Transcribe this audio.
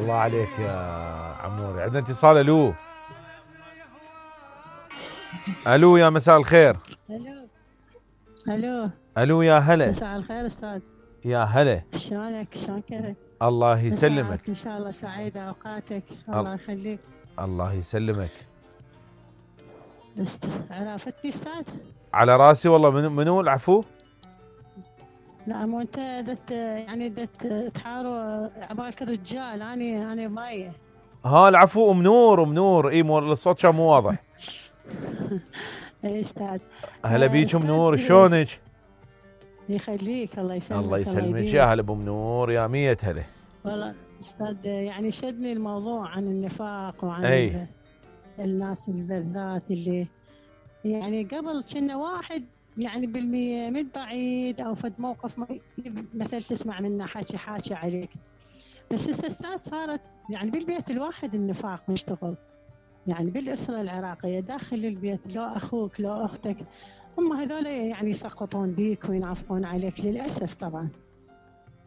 الله عليك يا عموري. عندنا اتصال. الو الو يا مساء الخير. الو الو الو يا هلا. مساء الخير استاذ. يا هلا. شلونك؟ شلون كيفك؟ الله يسلمك. ان شاء الله سعيدة اوقاتك. الله يخليك. الله يسلمك. عرفتني استاذ؟ على راسي والله. منو العفو؟ لا مو انت دت تحاروا عبالك الرجال. انا مايه. ها العفو. ام نور. اي الصوت كان مو واضح. اي استاذ. هلا بيك ام نور. شلونك؟ يخليك. الله يسلمك. الله يسلمك يا هلا بام نور. يا مية هلا. والله استاذ يعني شدني الموضوع عن النفاق وعن الناس بالذات اللي يعني قبل كنا واحد يعني بالمية من بعيد او فد موقف مثل تسمع منه حاكي عليك. بس استاذ صارت يعني بالبيت الواحد النفاق مشتغل. يعني بالاسره العراقيه داخل البيت لو اخوك لو اختك هم هذول يعني يسقطون بيك وينعفقون عليك للاسف طبعا.